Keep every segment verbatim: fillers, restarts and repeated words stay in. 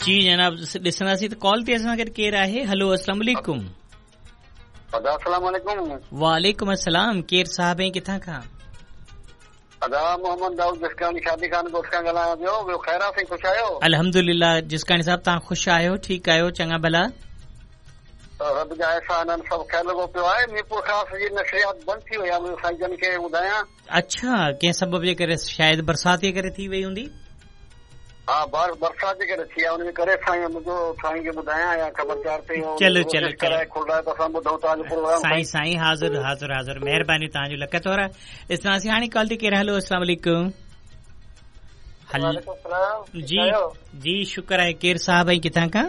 जी जनाब ॾिसंदासीं त कॉल ते असां गॾु केरु आहे। हलो अस्सलाम वालेकुम। अदा अस्सलाम वालेकुम। वालेकुम अस्सलाम। केरु साहब ऐं किथां खां? अदा मोहम्मद दाऊद जिसकानी शादी खान ॻोठ खां ॻाल्हायां पियो। ॿियो ख़ैर आहे साईं, ख़ुशि आहियो? अल्हम्दुलिल्लाह। जिसकानी साहब तव्हां ख़ुशि आहियो, ठीकु आहियो, चङा भला? रब जा एहसान आहिनि, सभु ख़ैर लॻो पियो आहे। मीरपुर ख़ास जी नशरियात बंदि थी वई आहे, मुंहिंजो साईं जन खे ॿुधायां। अच्छा, कंहिं सबब जे करे? शायदि बरसाति जे करे थी वई हूंदी। हा, बरसाति जे करे थी आहे, उनजे करे साईं मुंहिंजो साईं खे ॿुधायां या ख़बर चार ते चलो चलो कराए खोलाए त असां ॿुधूं तव्हांजो प्रोग्राम। साईं साईं हाज़िर हाज़िर हाज़िर, महिरबानी तव्हांजो, लख थोरा। ॾिसंदासीं हाणे कॉल ते केरु। हलो अस्सलाम वालेकुम। जी जी शुक्र आहे। केरु साहब ऐं किथां खां?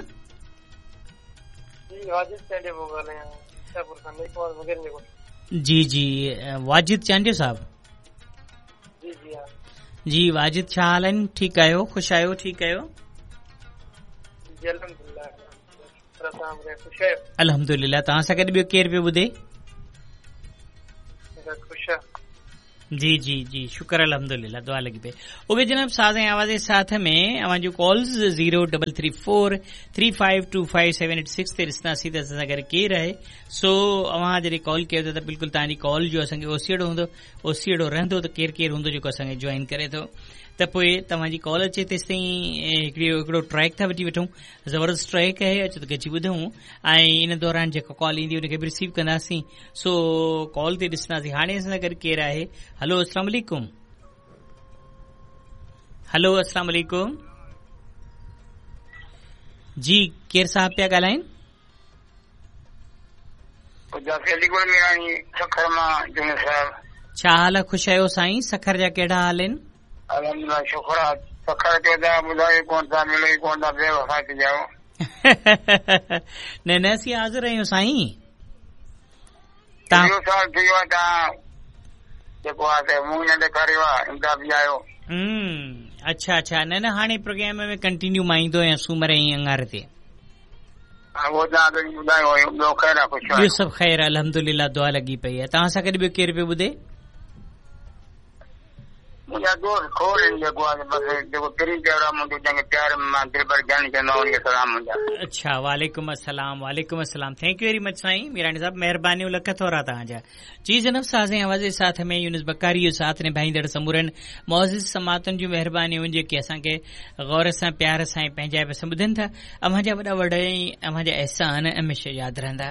जी जी वाजिद चांडियो साहब। जी जी जी वाजिद, छा हाल आहिनि? ठीकु आहियो, ख़ुशि आहियो? ठीकु आहियो? अल्हम्दुलिल्लाह। तव्हां सां गॾु ॿियो केरु पियो ॿुधे? जी जी जी शुक्र अल्हम्दुलिल्लाह, दुआ लॻी पई। उहे जनाब साज़ ऐं आवाज़ जे साथ में अव्हां जूं calls zero double three four three five two five seven eight six ते ॾिसंदासीं त असां सां गॾु केरु आहे। सो अव्हां जॾहिं कॉल कयो था त बिल्कुलु तव्हांजी कॉल जो असांखे ओसियड़ो हूंदो, ओसियड़ो रहंदो त केरु केरु हूंदो जेको असांखे जॉइन करे थो। त पोइ तव्हांजी कॉल अचे तेसि ताईं हिकिड़ी हिकिड़ो ट्रैक था वठी वठूं, ज़बरदस्त ट्रैक आहे, अचो त गॾिजी ॿुधूं ऐं इन दौरान जेका कॉल ईंदी उनखे बि रिसीव कंदासीं। सो कॉल ते ॾिसंदासीं हाणे असां सां गॾु केरु आहे। हलो अस्सलाम वालेकुम। हलो अस्सलाम वालेकुम। जी केरु साहब पिया ॻाल्हाइनि? छा हाल आहे? ख़ुशि आहियो साईं? सखर जा कहिड़ा हाल आहिनि? अल्हम्दुलिल्लाह शुक्र आहे। सखर ते तव्हां ॿुधायो कोन था, मिले ई कोन था, बेवफ़ा थी विया। न न असीं हाज़िर आहियूं साईं। तव्हां साल थी वियो आहे, तव्हां जेको आहे त मुंहुं न ॾेखारियो आहे, इंसाफ़ आयो। अच्छा अच्छा, न न हाणे प्रोग्राम में कंटिन्यू मां ईंदो आहियां सूमर ऐं अंगारे ते। उहो तव्हां ॿुधायो हुयो। ॿियो ख़ैर आहे, ख़ुशि ॿियो सभु ख़ैर अल्हम्दुलिल्लाह, दुआ लॻी पई आहे। तव्हां सां गॾु ॿियो केरु पियो ॿुधे? मुंहिंजा दोस्त खोड़ आहिनि, जेको आहे बसि जेको पहिरीं प्यारो आहे मुंहिंजो, जंहिंखे प्यार मां दिलबर जानी चवंदो आहियां, उनखे सलाम मुंहिंजा। अच्छा, वालेकुम अस्सलाम, वालेकुम अस्सलाम। Thank you very much साईं मीरानी साहब, महिरबानियूं, लख थोरा तव्हांजा। जी जनाब साज़ ऐं आवाज़ जे साथ में यूनुस बकारी जो साथ निभाईंदड़ समूरनि मुअज़्ज़िज़ समातुनि जूं महिरबानियूं जेके असांखे गौर सां प्यार सां ऐं पंहिंजाइप सां ॿुधनि था। अव्हांजा वॾा वॾ ऐं अव्हांजा अहसान हमेशह यादि रहंदा।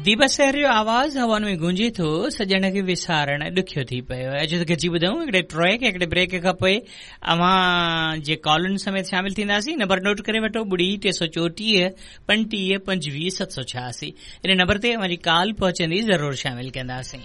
दीपा शहर जो आवाज़ हवाउनि में गूंजे थो, सॼण खे विसारण ॾुखियो थी पियो। अचो त गॾिजी ॿुधूं हिकिड़े ट्रैक हिकिड़े ब्रेक खां पोइ अव्हां जे कॉलुनि समेत शामिल थींदासीं। नंबर नोट करे वठो, ॿुड़ी टे सौ चोटीह पंटीह पंजवीह सत सौ छयासी। इन नंबर ते अव्हांजी कॉल पहुचंदी, ज़रूरु शामिल कंदासीं।